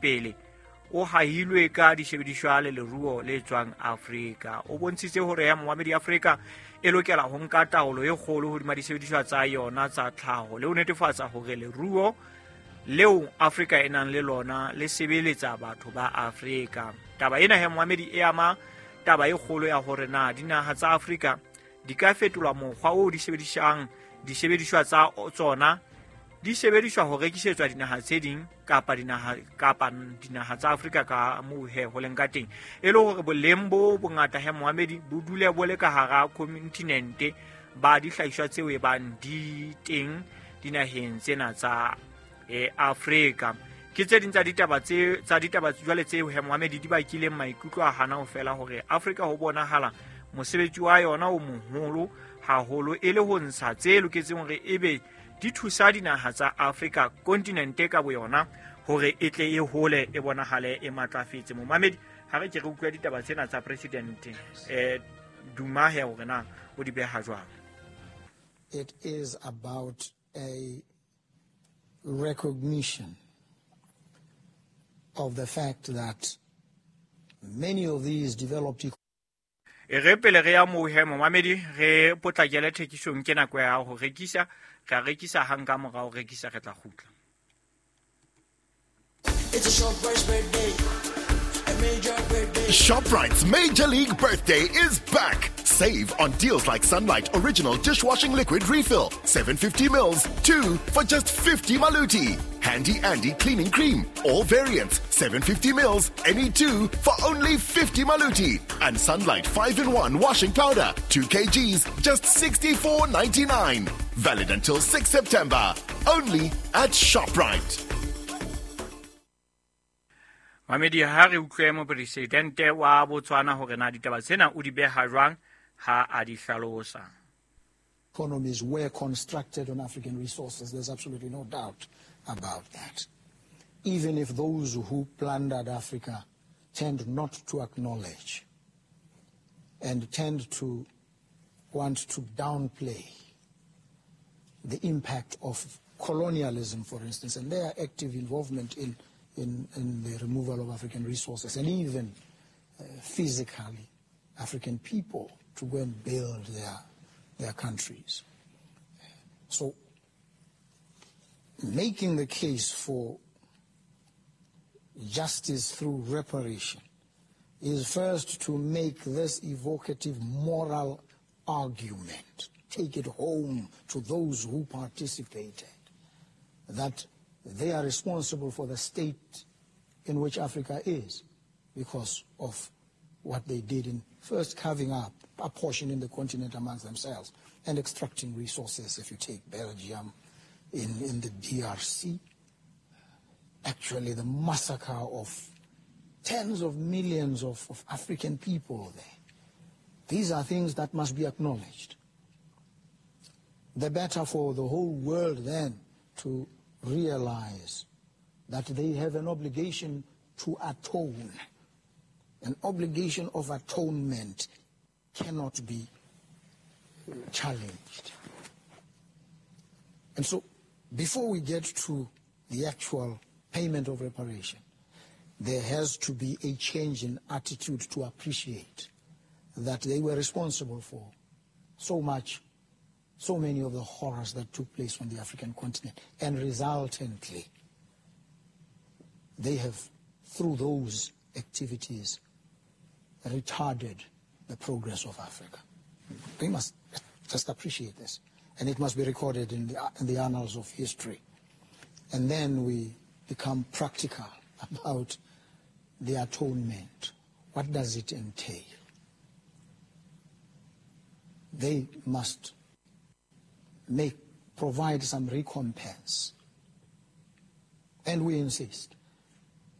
pele o hahilwe ka disebediswa le leruo le tswang Afrika. O bontshitse hore ya momamedi Afrika e lokela ho nka taolo e kgolo hodima disebediswa tsa yona tsa tlhaho le ho netefatsa hore leruo leo Afrika e nang le lona le sebeletsa batho ba Afrika. Taba ena he momamedi e ama taba e kgolo ya hore na dinaha tsa Afrika di ka fetolwa mokgwa o di sebedisang disebediswa tsa tsona di sebediswa ho rekisetswa dinaha tse ding kapa dinaha tsa Afrika ka moo he ho leng ka teng, e le hore boleng bo bongata he momamedi bo dule bo le ka hara kontinente ba dihlahiswa tseo e bang di teng dinaheng tsena tsa Afrika. Ke tse ding tsa ditaba tse tsa ditaba jwale tseo he momamedi di bakileng maikutlo a hana ho fela hore Afrika ho bonahala mosebetsi wa yona o moholo haholo e le ho ntsha tse loketseng hore ebe di thusa dinaha tsa Afrika kontinente ka boyona hore e tle e hole e bonahale e matlafetse. Momamedi, ha re ke re utlwa ditaba tsena tsa president Duma he hore na o di beha jwang. It is about a recognition of the fact that many of these developed E re pele re ya moo he momamedi re potlakele thekisong, ke nako ya ho rekisa, re a rekisa hang ka mora ho rekisa re tla kgutla. It's a ShopRite's birthday. A major birthday. ShopRite's Major League Birthday is back. Save on deals like Sunlight Original Dishwashing Liquid Refill, 750 mils, 2 for just 50 maluti. Handy Andy Cleaning Cream, all variants, 750 mils, any 2 for only 50 maluti. And Sunlight 5-in-1 Washing Powder, 2 kgs, just 64.99. Valid until 6 September. Only at ShopRite. Mamedi, ha re utlwe mopresidente wa Botswana hore na ditaba tsena o di beha jwang ha a di hlalosa. Economies were constructed on African resources. There's absolutely no doubt about that. Even if those who plundered Africa tend not to acknowledge and tend to want to downplay the impact of colonialism, for instance, and their active involvement in the removal of African resources, and even physically African people to go and build their countries. So making the case for justice through reparation is first to make this evocative moral argument, take it home to those who participated, that they are responsible for the state in which Africa is because of what they did in first carving up a portion in the continent amongst themselves and extracting resources. If you take Belgium in the DRC, actually the massacre of tens of millions of African people there. These are things that must be acknowledged. The better for the whole world then to realize that they have an obligation to atone. An obligation of atonement cannot be challenged. And so, before we get to the actual payment of reparation, there has to be a change in attitude to appreciate that they were responsible for so much, so many of the horrors that took place on the African continent. And resultantly, they have, through those activities, retarded the progress of Africa. We must just appreciate this. And it must be recorded in the annals of history. And then we become practical about the atonement. What does it entail? They must provide some recompense. And we insist.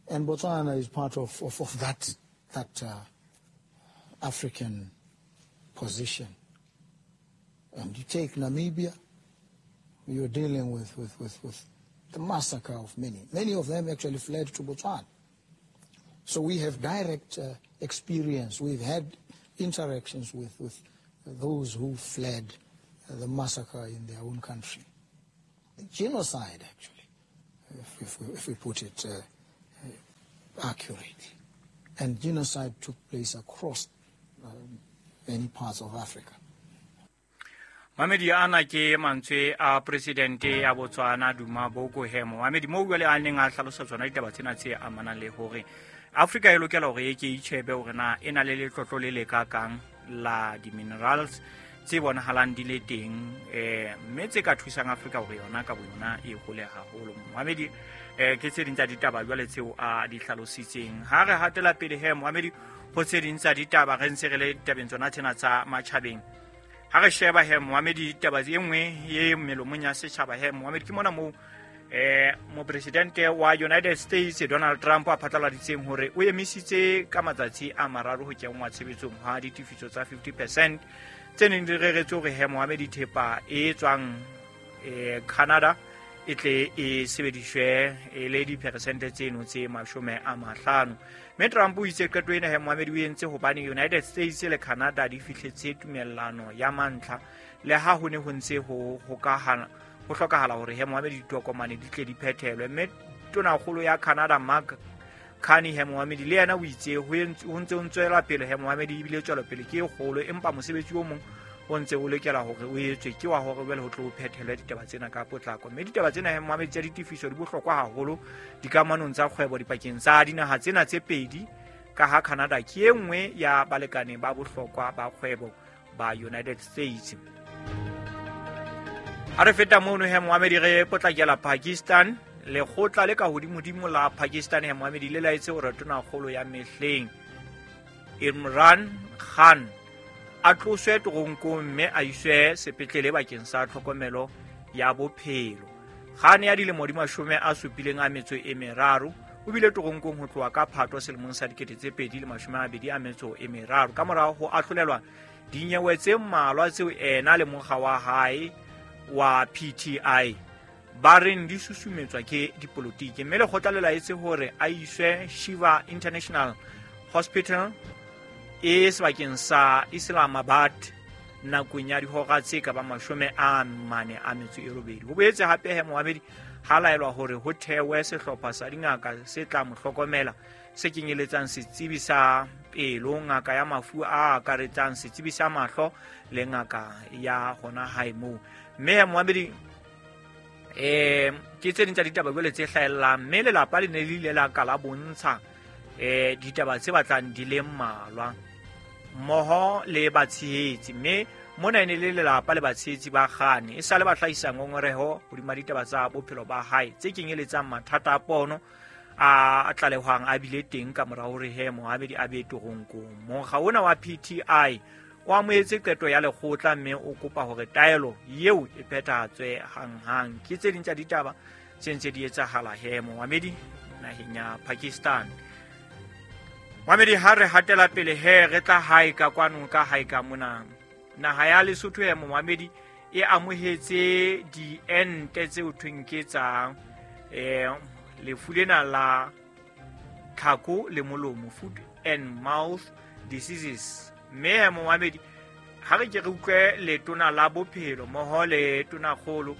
And Botswana is part of that African position. And you take Namibia, you're dealing with the massacre of many. Many of them actually fled to Botswana. So we have direct experience. We've had interactions with those who fled the massacre in their own country. The genocide, actually, if we put it accurately. And genocide took place across many parts of Africa. Mamedi ana ke mantswe a presidente ya Botswana Duma Boko Hemo. Mamedi mo jwale a neng a hlalosa tsona ditaba tsena tse amanang le hore Afrika e lokela hore e ke itjhebe hore na e na le letlotlo le le kakang la di-minerals tse bonahalang di le teng, mme tse ka thusang Afrika hore yona ka boyona e hole haholo. Mohamedi, ke tse ding tsa ditaba jwale tseo a di hlalositseng. Ha re hatela pele he Mohamedi, ho tse ding tsa ditaba re ntse re le tabeng tsona tsena tsa matjhabeng. Ha re sheba he Mohamedi, ditaba e nngwe e melomong ya setjhaba he Mohamedi, ke mona moo mopresidente wa United States Donald Trump a phatlaladitseng hore o emisitse ka matsatsi a mararo ho kenngwa tshebetsong ha ditefiso tsa 50% tse neng di reretswe hore he Mohamedi thepa e tswang Canada e tle e sebediswe e le diperesente tseno tse 50. Mme Trump o itse qeto ena he Mohamedi o entse hobane United States le Canada di fihletse tumellano ya mantlha, le ha ho ne ho ntse ho hokahana ho hlokahala hore he Mohamedi ditokomane di tle di phethelwe. Mme tonakgolo ya Canada Mark Carney he Mohamedi le yena o itse ho ntse ho tswela pele he Mohamedi, ebile tswelopele ke e kgolo, empa mosebetsi o mong o ntse o lokela hore o etswe ke wa hore jwale ho tlo phethelwe ditaba tsena ka potlako. Mme ditaba tsena he Mohamedi tsa ditefiso di bohlokwa haholo dikamanong tsa kgwebo dipakeng tsa dinaha tsena tse pedi, ka ha Canada ke e nngwe ya balekane ba bohlokwa ba kgwebo ba United States. Ha re feta mono he Mohamedi, re potlakela Pakistan. Lekgotla le ka hodimodimo la Pakistan he Mohamedi le laetse hore tonakgolo ya mehleng Imran Khan a tloswe teronkong mme a iswe sepetlele bakeng sa tlhokomelo ya bophelo. Khan ya dilemo di 73 o bile teronkong ho tloha ka Phato selemong sa 2023 ka morao ho ahlolelwa dinyewe tse mmalwa tseo ena le mokga wa hae wa PTI ba reng di susumetswa ke dipolotiki. Mme lekgotla le laetse hore a iswe Shiva International Hospital e sebakeng sa Islamabad nakong ya dihora tse ka bang 48. Ho boetse hape he Mohamedi ha laelwa hore ho thewe sehlopha sa dingaka se tla mo hlokomela, se kenyeletsang setsebi sa pelo, ngaka ya mafu a akaretsang, setsebi sa mahlo le ngaka ya hona hae moo. Mme Mohamedi, ke tse ding tsa ditaba jwale tse hlahellang, mme lelapa le ne le ile la ka la bontsha ditaba tse batlang di le mmalwa mmoho le batshehetsi. Mme mona e ne le lelapa le batshehetsi ba Khan e sale ba hlahisa ngongoreho hodima ditaba tsa bophelo ba hae tse kenyeletsang mathata a pono a tlalehwang a bile teng ka mora hore he Mohamedi a be teronkong. Mokga ona wa PTI o amohetse qeto ya lekgotla mme o kopa hore taelo eo e phethahatswe hanghang. Ke tse ding tsa ditaba tse ntse di etsahala he Mohamedi naheng ya Pakistan. Mohamedi, ha re hatela pele he re tla hae ka kwano ka hae ka mona. Naha ya Lesotho ya Mohamedi e amohetse diente tse ho thweng ke tsa lefu lena la tlhako le molomo, foot and mouth diseases. Mme Mohamedi, ha re ke re utlwe letona la bophelo mmoho le tonakgolo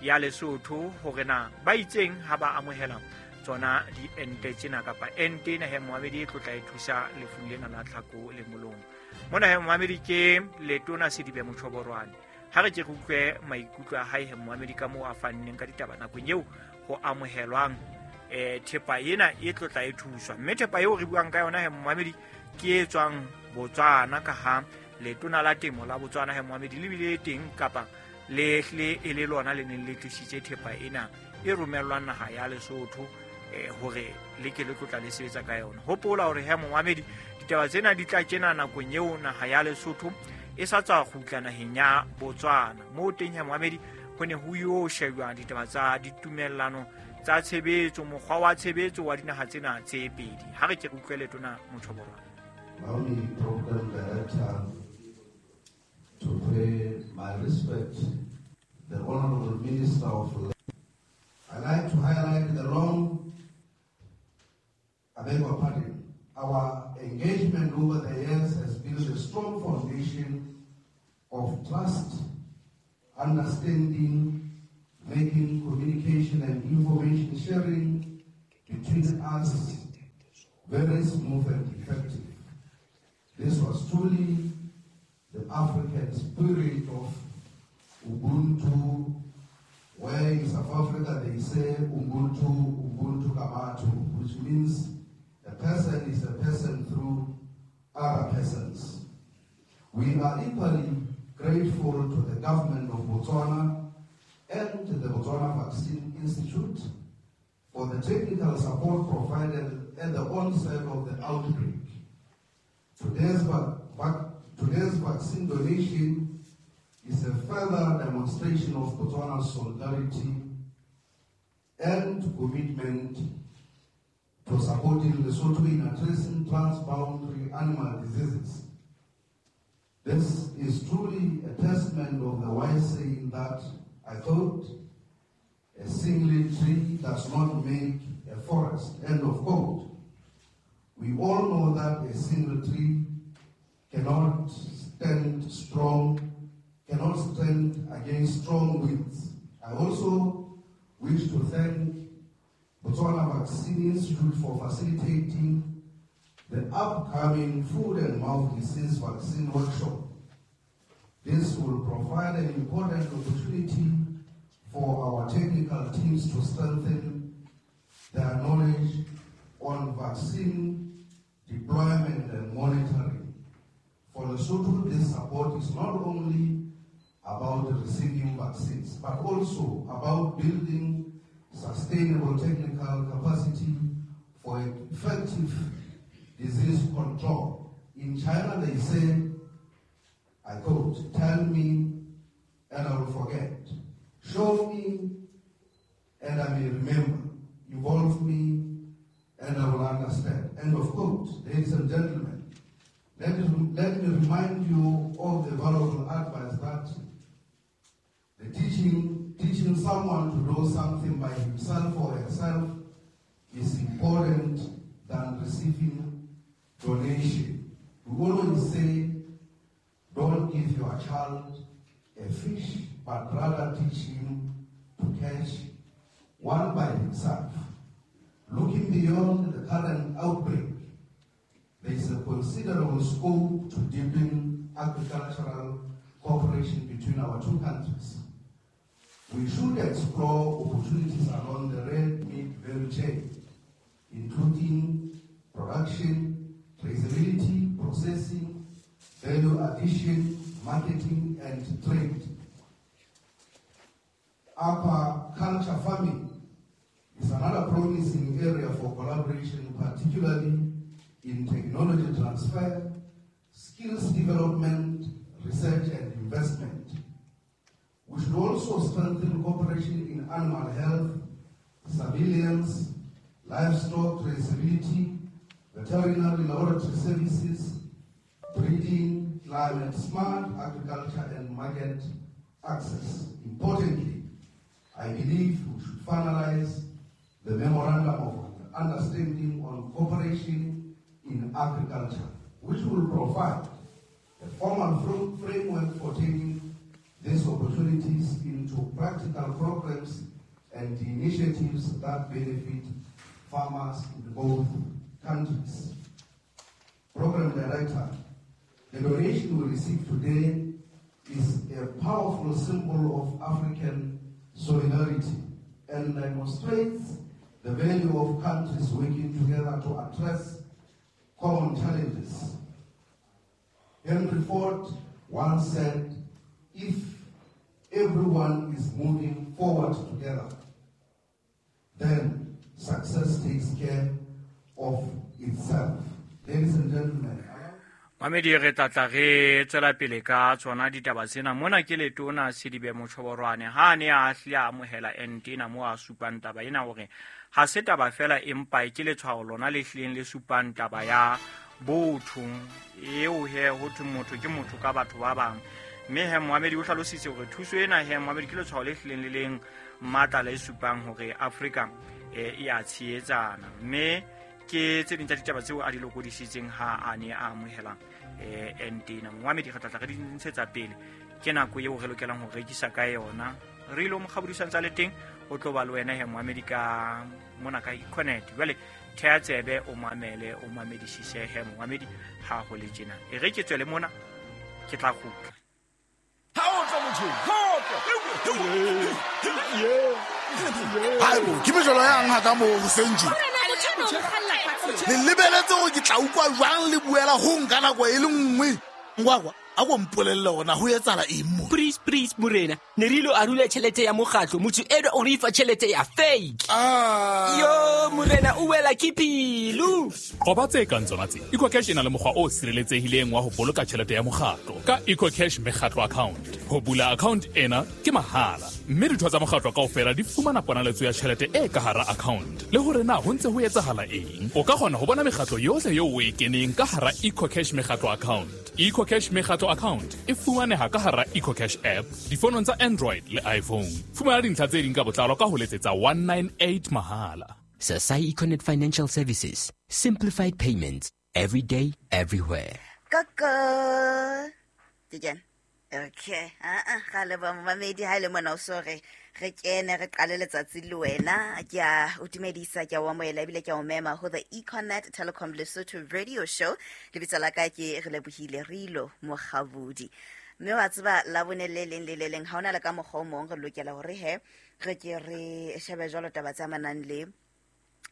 ya Lesotho hore na ba itseng ha ba amohela tsona diente tsena kapa ente ena he Mohamedi e tlotla e thusa lefung lena la tlhako le molomo. Mona he Mohamedi ke letona Sedibe Mochoborwane. Ha re ke re utlwe maikutlo a hae he Mohamedi ka moo a fanneng ka ditaba nakong eo ho amohelwang thepa ena e tlotla e thuswa. Mme thepa eo re buang ka yona he Mohamedi ke e tswang Botswana, ka ha letona la temo la Botswana he Mohamedi le bile teng kapa le hle e le lona le neng le tlisitse thepa ena e romellwang naha ya Lesotho hore le ke le tlotla le sebetsa ka yona. Hopola hore he Mohamedi ditaba tsena di tla tjena nakong eo naha ya Lesotho e sa tswa kgutla naheng ya Botswana. Moo teng he Mohamedi ho ne ho yo shejwa ditaba tsa ditumellano tsa tshebetso, mokgwa wa tshebetso wa dinaha tsena tse pedi. Ha re ke re utlwe letona Mochoborwane. Allow me, Program Director, to pay my respect the Honorable Minister of Labor. I like to highlight the long, I beg your pardon, our engagement over the years has built a strong foundation of trust, understanding, making communication and information sharing between us very smooth and effective. This was truly the African spirit of Ubuntu, where in South Africa they say Ubuntu, Ubuntu Kabatu, which means a person is a person through other persons. We are equally grateful to the government of Botswana and the Botswana Vaccine Institute for the technical support provided at the onset of the outbreak. Today's vaccine donation is a further demonstration of Botswana's solidarity and commitment to supporting Lesotho in addressing transboundary animal diseases. This is truly a testament of the wise saying that, I quote, "A single tree does not make a forest," end of quote. We all know that a single tree cannot stand against strong winds. I also wish to thank Botswana Vaccine Institute for facilitating the upcoming food and mouth disease vaccine workshop. This will provide an important opportunity for our technical teams to strengthen their knowledge on vaccine deployment and monitoring. For Lesotho, this support is not only about receiving vaccines, but also about building sustainable technical capacity for effective disease control. In China, they say, I quote, "Tell me and I will forget. Show me and I may remember. Involve me and I will understand." End of quote. Ladies and gentlemen, let me remind you of the valuable advice that the teaching someone to do something by himself or herself is important than receiving donation. We always say, don't give your child a fish, but rather teach him to catch one by himself. Looking beyond the current outbreak, there is a considerable scope to deepen agricultural cooperation between our two countries. We should explore opportunities along the red meat value chain, including production, traceability, processing, value addition, marketing, and trade. Aquaculture farming is another promising area for collaboration, particularly in technology transfer, skills development, research, and investment. We should also strengthen cooperation in animal health, surveillance, livestock traceability, veterinary laboratory services, breeding, climate-smart agriculture, and market access. Importantly, I believe we should finalize the Memorandum of Understanding on Cooperation in Agriculture, which will provide a formal framework for taking these opportunities into practical programs and initiatives that benefit farmers in both countries. Program Director, the donation we received today is a powerful symbol of African solidarity and demonstrates the value of countries working together to address common challenges. Henry Ford once said, "If everyone is moving forward together, then success takes care of itself." Ladies and gentlemen, Mamedi re tlatla re tswela pele ka tsona ditaba tsena. Mona ke letona Sedibe Mochoborwane ha ne a hle a amohela ente ena mo a supang taba ena hore ha se taba fela empa ke letshwao lona le hlileng le supang taba ya botho eo he ho thwe motho ke motho ka batho ba bang. Mme he Mohamedi o hlalositse hore thuso ena he Mohamedi ke letshwao le hlileng le leng matla le supang hore Afrika e a tshehetsana. Mme ke tse ding tsa ditaba tseo a di lokodisitseng ha a ne a amohela ente ena. Mohamedi re tlatla re di ntshetsa pele, ke nako eo re lokelang ho rekisa ka yona. Re ilo mokgabodisang tsa le teng o tlo ba le wena he Mohamedi ka mona ka Econet. Jwale Thea tsebe o mamele, o mamedisise he momamedi ha ho le tjena. E re ke tswele mona, ke tla kgutla. Haebo, ke mejolo yang haka moo hoseng tje? Le lebeletse hore ke tla utlwa jwang le buela ho nka nako e le nngwe? Ngwakwa, a ko mpolelle hore na ho etsahala eng mo? Please, please, morena. Ne re ilo arula tjhelete ya mokgatlo. Motho enwa o re fa tjhelete ya fake. Yo, morena, o wela ke pelo. Qoba tse kang tsona tse. EcoCash e na le mokgwa o sireletsehileng wa ho boloka tjhelete ya mokgatlo ka EcoCash mekgatlo account. Ho bula account ena ke mahala, mme ditho tsa mokgatlo kaofela di fumana ponaletso ya tjhelete e ka hara account le hore na ho ntse ho etsahala eng. O ka kgona ho bona mekgatlo yohle eo o e keneng ka hara EcoCash mekgatlo account. EcoCash mekgatlo account e fumaneha ka hara EcoCash app difonong tsa Android le iPhone. Fumana dintlha tse ding ka botlalo ka ho letsetsa 198 mahala. Sasai Econet Financial Services. Simplified payments. Every day, everywhere. Koko. Ke Okay. Ga le ba momamedi ha ile mona o so re re kene re qale letsatsi le wena. Ke a o dumedisa, ke a o amohela ebile ke a o mema ho the Econet Telecom Lesotho Radio Show. Lebitso la ka ke re lebohile Rilo Mokgabudi. Mme wa tseba la bone le leng le le leng ha hona le ka mokgwa o mong re lokela hore he re ke re shebe jwalo taba tse amanang le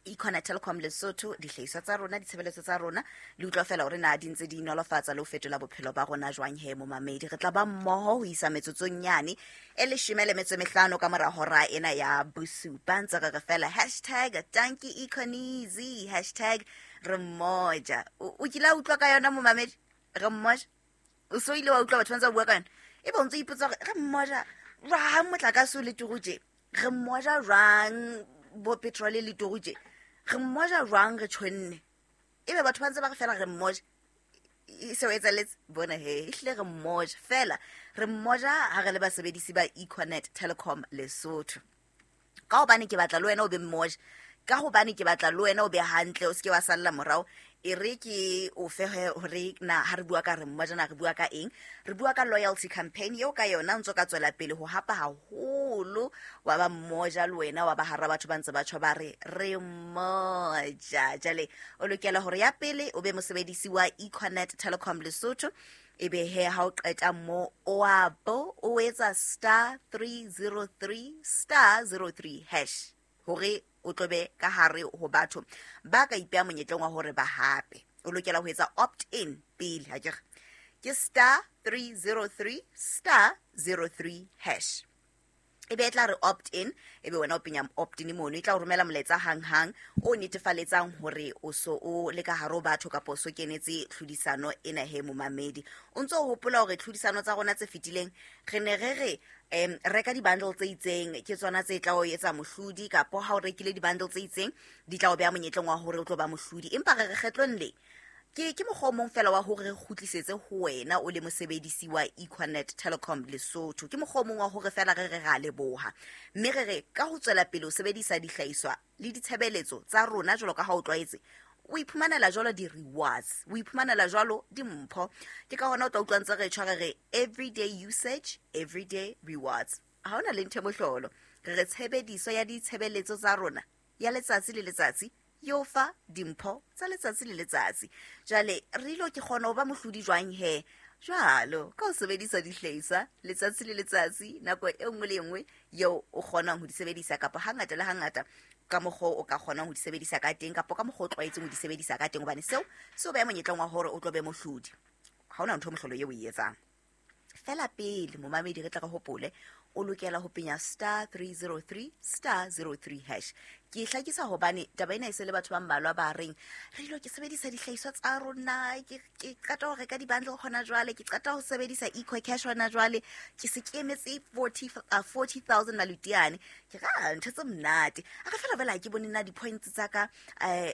Econet Telecom Lesotho, dihlahiswa tsa rona, ditshebeletso tsa rona, le utlwa fela hore na di ntse di nolofatsa le ho fetola bophelo ba rona jwang he momamedi. Re tla ba mmoho ho isa metsotsong yane e 15 ka mora hora ena ya bosupa. Ntse re re fela hashtag tanki Econeasy, hashtag re mmoja. O kile a utlwa ka yona momamedi? Re mmoja? O so ile wa utlwa batho ba ntse ba bua ka yona? Ebe o ntse o ipotsa hore re mmoja jwang motlakase o le turu tje? Re mmoja jwang bo petrol le turu tje? Re mmoja jwang re tjhonne? Ebe batho ba ntse ba re fela re mmoja. E se o etsahalletse? Bona he, ehlile re mmoja. Fela re mmoja ha re le basebedisi ba Econet Telecom Lesotho. Ka hobane ke batla le wena o be mmoja, ka hobane ke batla le wena o be hantle, o seke wa salla morao. E re ke o fe hore na ha re bua ka re mmoja na re bua ka eng? Re bua ka loyalty campaign eo ka yona o ntso ka tswela pele ho hapa haholo, wa ba mmoja le wena, wa ba hara batho ba ntse ba tjho ba re re mmoja. Jwale o lokela hore ya pele o be mosebedisi wa Econet Telecom Lesotho. Ebe he ha o qeta mo o a bo o etsa star 303 star 03 hash hore o tlobe ka hare ho batho ba ka ipeha monyetleng wa hore ba hape. O lokela ho etsa opt in pele, ha ke re ke star 303 star 03 hash. Ebe e tla re opt in, ebe wena o penya opt in mono, e tla o romela molaetsa hang-hang o netefaletsang hore o so o le ka hare ho batho kapa o so kenetse tlhodisano ena he momamedi. O ntso o hopola hore tlhodisano tsa rona tse fetileng re ne re re reka di-bundle tse itseng, ke tsona tse tla o etsa mohlodi, kapo ha o rekile di-bundle tse itseng di tla o beha monyetleng wa hore o tlo ba mohlodi. Empa re re kgetlong le ke mokgwa o mong fela wa hore re kgutlisetse ho wena o le mosebedisi wa Econet Telecom Lesotho. Ke mokgwa o mong wa hore fela re re ra leboha, mme re re ka ho tswela pele o sebedisa dihlahiswa le ditshebeletso tsa rona jwalo ka ha o tlwaetse, o iphumanela jwalo di-rewards, o iphumanela jwalo dimpho. Ke ka hona o tla utlwa ntse re tshware re everyday usage, everyday rewards. Ha hona le ntho e mohlolo. Re re tshebediso ya ditshebeletso tsa rona ya letsatsi le letsatsi yo fa dimpho tsa letsatsi le letsatsi. Jwale re ilo ke kgona ho ba mohlodi jwang he? Jwalo ka ho sebedisa dihlahiswa letsatsi le letsatsi, nako e nngwe le e nngwe eo o kgonang ho di sebedisa, kapa hangata le hangata ka mokgwa o ka kgonang ho di sebedisa ka teng, kapa ka mokgwa o tlwaetseng ho di sebedisa ka teng, hobane seo se o beha monyetleng wa hore o tlo be mohlodi. Ha hona ntho e mohlolo eo o e etsang. Fela pele momamedi re tla re hopole, o lokela ho penya star 303 star 03 hash. Ke hlakisa hobane taba ena e se le batho ba mmalwa ba reng re ilo ke sebedisa dihlahiswa tsa rona, ke qeta ho reka di-bundle hona jwale, ke qeta ho sebedisa EcoCash hona jwale, ke se ke emetse 40,000 malutiane. Ke ra ntho tse monate. A re fela fela ha ke bone na di-points tsa ka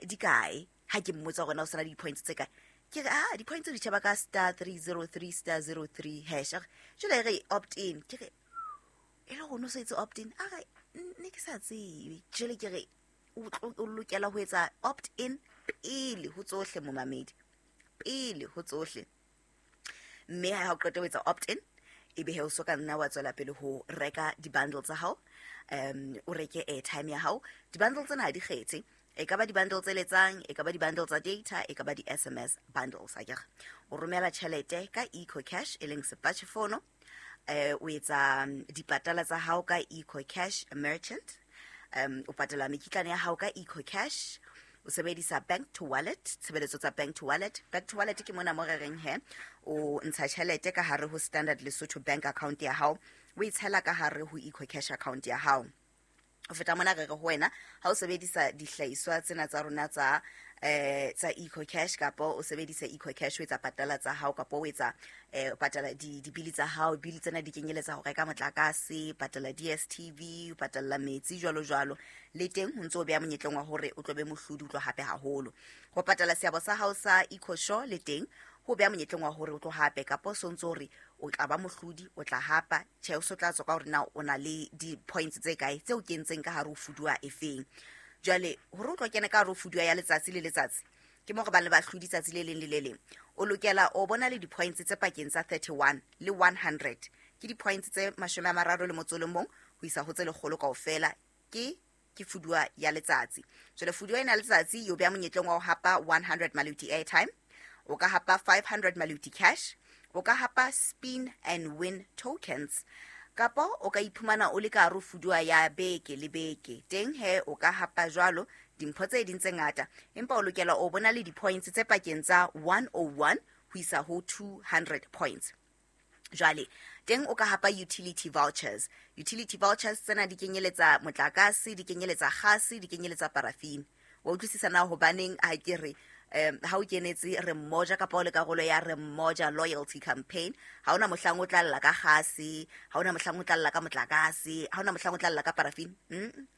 di kae. Ha ke mmotsa hore na o sena di-points tse kae, ke re di-points di tjheba ka star 303 star 03 hash. Jwale re opt in, ke re e le hore o so etse opt in, a re ne ke sa tsebe. Jwale ke re o lokela ho etsa opt in pele ho tsohle momamedi, pele ho tsohle. Mme ha o qeta ho etsa opt in, ebe he o so ka nna wa tswela pele ho reka di-bundle tsa hao, o reke airtime ya hao. Di-bundle tsena ha di kgethe. E ka ba di-bundle tse letsang, e ka ba di-bundle tsa data, e ka ba di-SMS bundles, akere o romela tjhelete ka EcoCash, e leng sepatjhefono, o etsa dipatala tsa hao ka EcoCash merchant, o patala mekitlane ya hao ka EcoCash, o sebedisa bank to wallet, tshebeletso tsa bank to wallet. Bank to wallet ke mona mo re reng he o ntsha tjhelete ka hare ho Standard Lesotho Bank account ya hao, o e tshela ka hare ho EcoCash account ya hao. Ho feta mona re re ho wena, ha o sebedisa dihlahiswa tsena tsa rona tsa tsa EcoCash, kapa o sebedisa EcoCash o etsa patala tsa hao, kapa o etsa patala dibili tsa hao. Bili tsena di kenyeletsa ho reka motlakase, patala DStv, patala metsi, jwalo jwalo. Le teng ho ntso o beha monyetleng wa hore o tlo be mohlodi, o tlo hape haholo. Ho patala seabo sa hao sa EcoSure le teng ho beha monyetleng wa hore o tlo hape, kapa o so ntso hore o tla ba mohlodi, o tla hapa. Tjhe, o so tla tswa ka hore na o na le di-points tse kae tseo kentseng ka hare ho fuduwa efeng. Jwale hore o tlo kena ka hare ho fuduwa ya letsatsi le letsatsi, ke mo re bang le bahlodi tsatsi le leng le le leng, o lokela o bona le di-points tse pakeng tsa 31 le 100. Ke di-points tse 31 ho isa ho tse 100 kaofela. Ke fuduwa ya letsatsi. Jwale fuduwa ena ya letsatsi yo beha monyetleng wa ho hapa 100 maluti airtime, o ka hapa 500 maluti cash, o ka hapa spin and win tokens, kapa o ka iphumana o le ka hare ho fuduwa ya beke le beke. Teng he o ka hapa jwalo dimpho tse ding tse ngata, empa o lokela o bona le di-points tse pakeng tsa 101 ho isa ho 200 points. Jwale teng o ka hapa utility vouchers. Utility vouchers tsena di kenyeletsa motlakase, di kenyeletsa kgase, di kenyeletsa parafini. Wa utlwisisa na hobaneng ha ke re ha o kenetse re mmoja, kapa o le karolo ya re mmoja loyalty campaign, ha ona mohlang o tla lla ka kgase, ha ona mohlang o tla lla ka motlakase, ha ona mohlang o tla lla ka parafini.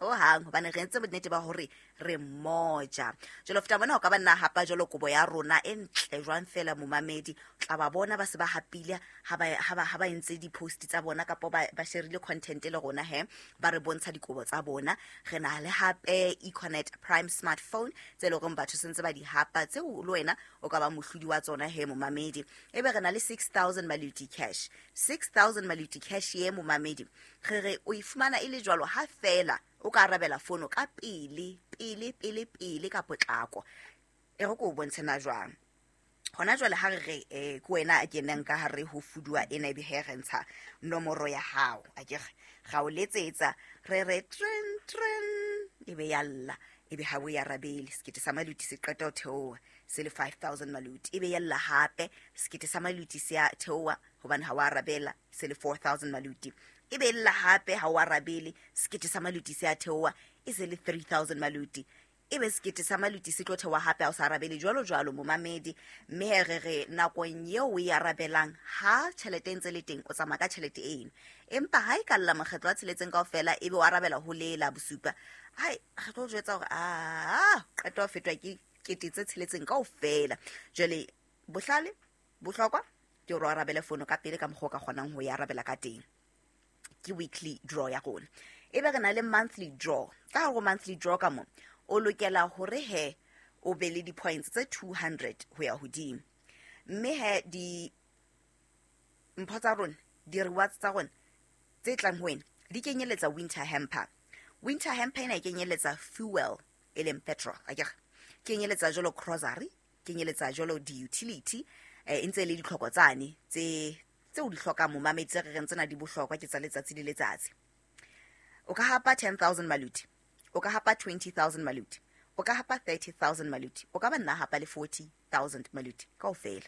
Ho hang, hobane re entse bonnete ba hore re mmoja. Jwale ho feta mona o ka ba nna hapa jwalo kobo ya rona e ntle jwang fela momamedi, o tla ba bona ba se ba hapile ha ba entse di-post tsa bona, kapa ba sharile content le rona he, ba re bontsha dikobo tsa bona. Re na le hape Econet Prime smartphone tse leng hore batho sentse ba di hapa, tseo le wena o ka ba mohlodi wa tsona he momamedi. Ebe re na le 6000 maluti cash. 6000 maluti cash ye momamedi, re re o e fumana e le jwalo ha fela o ka arabela fono ka pele pele pele pele ka potlako. E re ko o bontshe na jwang. Hona jwale ha re re ke wena a kenang ka hare ho fuduwa ena, ebe he re ntsha nomoro ya hao, akere ra o letsetsa, re re tren tren, ebe ya lla, ebe ha o e arabele. Sekete sa maluti se qeta ho theoha se le 5000 maluti, ebe ya lla hape, sekete sa maluti se a theoha hobane ha o arabela se le 4000 maluti, ebe lla hape ha o arabele, sekete sa maluti se a theoha e se le 3000 maluti, ebe sekete sa maluti se tlo theoha hape ha o sa arabele, jwalo jwalo momamedi. Mme re re nakong eo o e arabelang, ha tjhelete e ntse le teng, o tsamaya ka tjhelete eno, empa ha e ka lla makgetlo a tsheletseng kaofela, ebe o arabela ho lela bosupa, hai re tlo jwetsa hore a qeta ho fetwa ke kete tse tsheletseng kaofela. Jwale bohlale bohlokwa ke hore o arabele fono ka pele ka mokgwa o ka kgonang ho e arabela ka teng. Ke weekly draw ya rona. Ebe re na le monthly draw. Ka hare ho monthly draw ka mo o lokela hore he o be le di-points tse 200 ho ya hodimo. Mme he di mpho tsa rona, di-rewards tsa rona tse tlang ho wena di kenyeletsa winter hamper. Winter hamper ena e kenyeletsa fuel, e leng petrol, akere kenyeletsa jwalo grocery, kenyeletsa jwalo di-utility, e ntse le ditlhoko tsane tse o di hlokang momamedi, tse re reng tsena di bohlokwa ke tsa letsatsi le letsatsi. O ka hapa 10000 maluti, o ka hapa 20000 maluti, o ka hapa 30000 maluti, o ka ba nna hapa le 40000 maluti kaofela.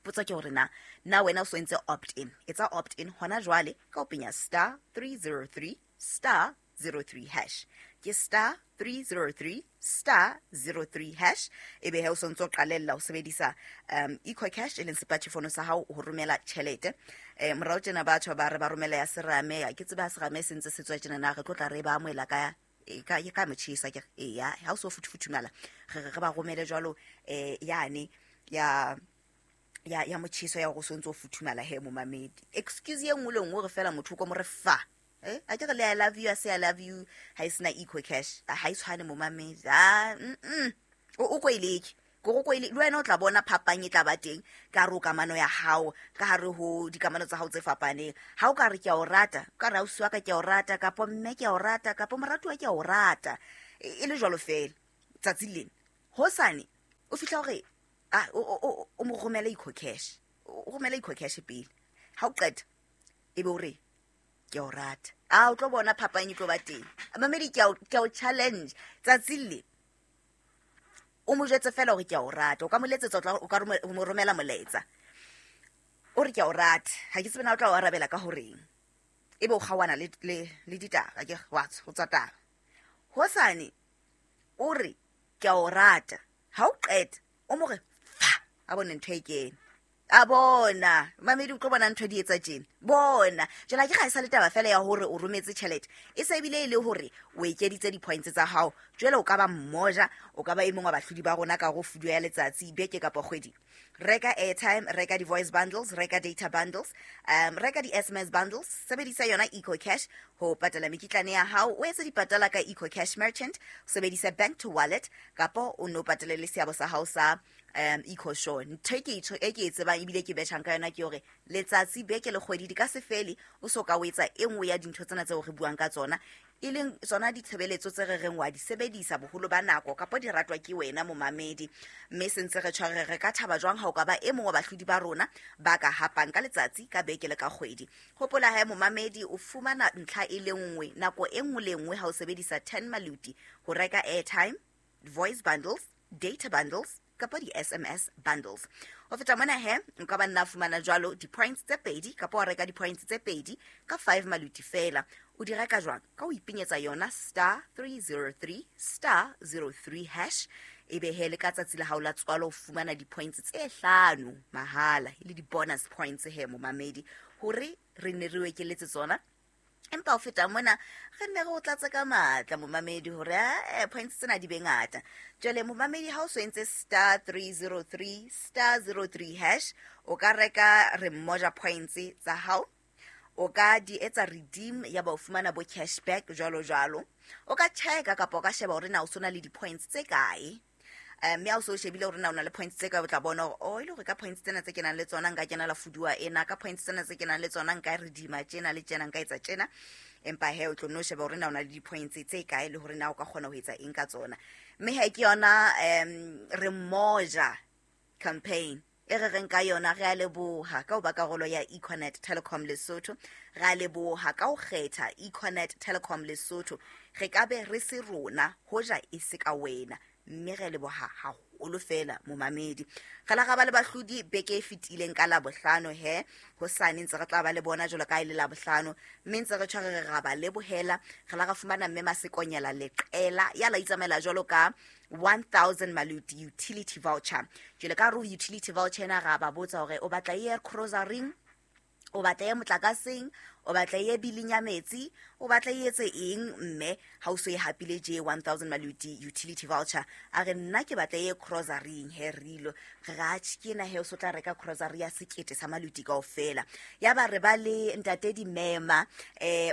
Potso ke hore na wena o so entse opt in. Etsa opt in hona jwale ka ho penya star 303 star 03 hash. Ke star 303 star 03 hash. Ebe he o so ntso qalella ho sebedisa EcoCash e leng sepatjhefono sa hao ho romela tjhelete. Morao tjena batho ba re ba romela ya serame, ke tseba serame se ntse se tswa tjena, na re tlo tla re ba amohela ka ka motjhesa ke eya, ha o so futhumala re ba romele jwalo yane ya ya motjheso ya go so ntso futhumala he momamedi. Excuse ye nngwe le nngwe re fela motho ko mo re fa. A ke re le I love you, I say I love you, ha e sena EcoCash, ha e tshwane momamedi. O ko ileke go go ile le wena o tla bona phapang e tla ba teng ka re o kamano ya hao, ka hare ho dikamano tsa hao tse fapaneng. Ha o ka re ke a o rata, ka re ausi wa ka ke a o rata, kapa mme ke a o rata, kapa moratuwa ke a o rata, E le jwalo fela tsatsi lena hosane o fihla hore o mo romele EcoCash, o romele EcoCash pele. Ha o qeta ebe o re ke o rata, a o tlo bona phapang e tlo ba teng. Mamedi, ke a o challenge tsatsi le o mo jwetse fela hore ke a o rata. O ka mo letsetsa, o ka mo romela molaetsa o re ke a o rata. Ha ke tsebe na o tla o arabela ka horeng, ebe o kgaohana le ditaba ke wa o tswa taba. Hosane o re ke a o rata, ha o qeta o mo re fa a bone ntho e kene a bona. Mamedi, o tlo bona ntho di etsa tjena. Bona jwale ha ke ga e sa le taba fela ya hore o rometse tjhelete, e se ebile e le hore o ekeditse di-points tsa hao. Jwale o ka ba mmoja, o ka ba e mong wa bahlodi ba rona ka go fuduwa ya letsatsi, beke kapa kgwedi. Reka airtime, reka di-voice bundles, reka data bundles, reka di-SMS bundles, sebedisa yona EcoCash ho patala mekitlane ya hao, o etse dipatala ka EcoCash merchant, sebedisa bank to wallet, kapa o no patale le seabo sa hao sa EcoSure. Ntho e ke e tsebang ebile ke betjhang ka yona ke hore letsatsi, beke le kgwedi di ka se fele o so ka o etsa e nngwe ya dintho tsena tseo re buang ka tsona, e leng tsona ditshebeletso tse re reng wa di sebedisa boholo ba nako kapa di ratwa ke wena momamedi. Mme se ntse re tshware, re ka thaba jwang ha o ka ba e mong wa bahlodi ba rona ba ka hapang ka letsatsi, ka beke le ka kgwedi. Hopola hae momamedi, o fumana ntlha e le nngwe nako e nngwe le nngwe ha o sebedisa 10 maluti ho reka airtime, voice bundles, data bundles kapa di-SMS bundles. Ho feta mona he, nka ba nna fumana jwalo di-points tse pedi kapa wa reka di-points tse pedi ka 5 maluti fela. O di reka jwang? Ka ho ipenyetsa yona star 303 star 03 hash, ebe he le ka tsatsi la hao la tswalo o fumana di-points tse 5 mahala, e le di-bonus points he momamedi, hore re ne re o ekeletse tsona. Empa ho feta mona re nne re o tlatse ka matla momamedi hore points tsena di be ngata. Jwale momamedi, ha o so entse star 303 star 03 hash, o ka reka re mmoja points tsa hao, o ka di etsa redeem ya ba o fumana bo cashback jwalo jwalo. O ka checka kapa o ka sheba hore na o sona le di-points tse kae, mme ha o so shebile hore na o na le points tse kae, o tla bona hore o ile hore ka points tsena tse kenang le tsona nka kena la fuduwa ena, ka points tsena tse kenang le tsona nka redeema tjena le tjena, nka etsa tjena. Empa he o tlo nno sheba hore na o na le di-points tse kae le hore na o ka kgona ho etsa eng ka tsona. Mme he ke yona re mmoja campaign e re reng ka yona. Re a leboha ka ho ba karolo ya Econet Telecom Lesotho, re a leboha ka ho kgetha Econet Telecom Lesotho. Re ka be re se rona hoja e se ka wena, mme re leboha haholo fela momamedi. Re la ra ba le bahlodi beke e fetileng ka Labohlano, he hosane ntse re tla ba le bona jwalo ka e le Labohlano, mme ntse re tshware re ra ba lebohela. Re la ra fumana mme Masekonyela Leqela ya la itsamaela jwalo ka 1000 maluti utility voucher. Jwale ka re utility voucher ena, ra ba botsa hore o batla e grocery, o batla e motlakaseng, o batla e biling ya metsi, o batla e etse eng, mme ha o so e hapile je 1000 maluti utility voucher. A re nna ke batla e grocery. He rilo re atjhe ke ena he o so tla reka grocery ya 1000 sa maluti kaofela. Ya ba re ba le ntate Dimema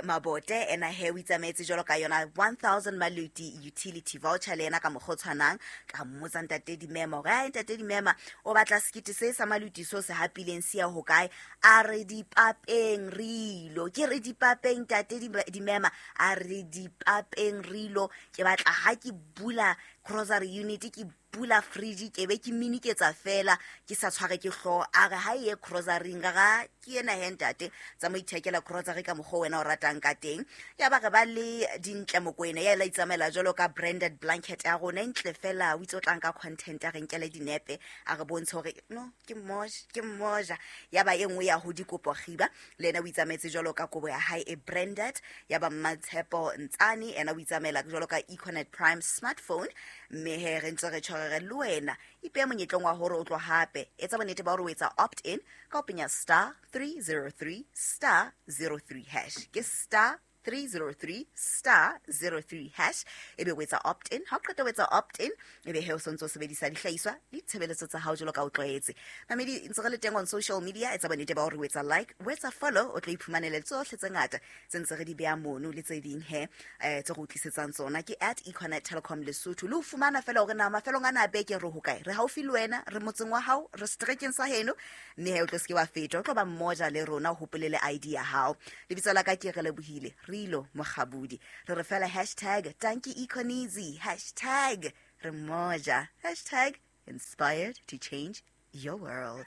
Mabote, ena he o itsamaetse jwalo ka yona 1000 maluti utility voucher le yena ka mokgwa o tshwanang. Ka mmotsa ntate Dimema hore ai ntate Dimema o batla 1000 se sa maluti so se hapileng se ya hokae. A re dipapeng rilo, ke re dipapeng ntate Dimema, a re dipapeng rilo, ke batla ha ke bula grocery unit, ke bula fridge, ke be ke miniketsa fela ke sa tshware ke hlooho. A re ha e ye grocery ga ke ena he ntate, tsa mo ithekela grocery ka mokgwa wena o ratang ka teng. Ya ba re ba le Dintle Mokwena ya la itsamaela jwalo ka branded blanket ya rona e ntle fela, o itse o tlang ka content, a re nkele dinepe a re bontshe hore no ke mmoja, ke mmoja. Ya ba e nngwe ya ho dikopo Kgiba le yena o itsamaetse jwalo ka kobo ya hae e branded. Ya ba Mmatshepo Ntsane ena o itsamaela jwalo ka Econet Prime smartphone. Mme he re ntse re tshware le wena, ipehe monyetleng wa hore o tlo hape etsa bonnete ba hore o etsa opt in ka ho penya star 303 star 03 hash, ke star 303 star 03 hash, ebe o etsa opt in. Ha o qeta o etsa opt in, ebe he o sontse o sebedisa dihlahiswa le ditshebeletso tsa hao jwalo ka o tlwaetse. Mamedi, ntse re le teng on social media, etsa bonnete ba hore o etsa like, o etsa follow, o tlo iphumanele tsohle tse ngata tse ntse re di beha mono le tse ding he tse re utlisetsang tsona. Ke at Econet Telecom Lesotho. Le ho fumana fela hore na mafelong ana a beke re hokae, re haufi le wena, re motseng wa hao, re seterekeng sa heno, mme he o tlo seke wa feta, o tlo ba mmoja le rona. O hopole le ID ya hao. Lebitso la ka ke Re Lebohile. Re Cirilo Mokgabudi. Re re fela hashtag tanki Econeasy, hashtag re moja, hashtag inspired to change your world.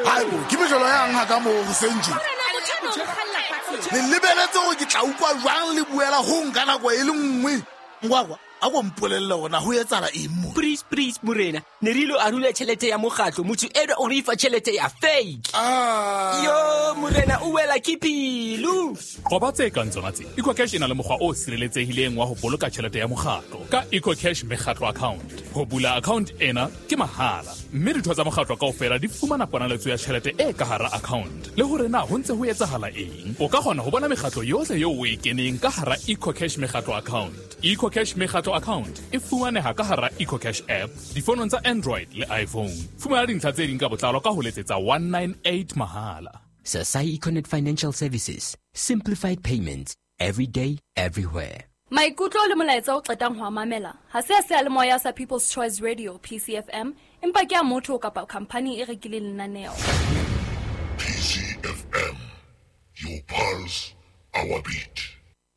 Haibo, ke mejolo yang ha ka moo hoseng tje? Le lebeletse hore ke tla utlwa jwang le buela ho nka nako e le nngwe. Ngwakwa, a ko mpolelle hore na ho etsahala eng mo. Please, please, morena, ne re ilo arula tjhelete ya mokgatlo, motho enwa o re fa tjhelete ya fake. Yo, morena, o wela ke pelo. Qoba tse kang tsona tse. EcoCash e na le mokgwa o sireletsehileng wa ho boloka tjhelete ya mokgatlo ka EcoCash mekgatlo account. Ho bula account ena ke mahala, mme ditho tsa mokgatlo kaofela di fumana ponaletso ya tjhelete e ka hara account. Le hore na ho ntse ho etsahala eng, o ka kgona ho bona mekgatlo yohle eo o e keneng ka hara EcoCash mekgatlo account. EcoCash mekgatlo account e fumaneha ka hara EcoCash app difonong tsa Android le iPhone. Fumana dintlha tse ding ka botlalo ka ho letsetsa 198 mahala. Sasai Econet Financial Services, simplified payments every day, everywhere. Maikutlo le molaetsa o qetang ho a mamela ha se a seyalemoya sa People's Choice Radio PCFM, empa ke a motho kapa khamphani e rekileng lenaneo. PCFM, your pulse, our beat.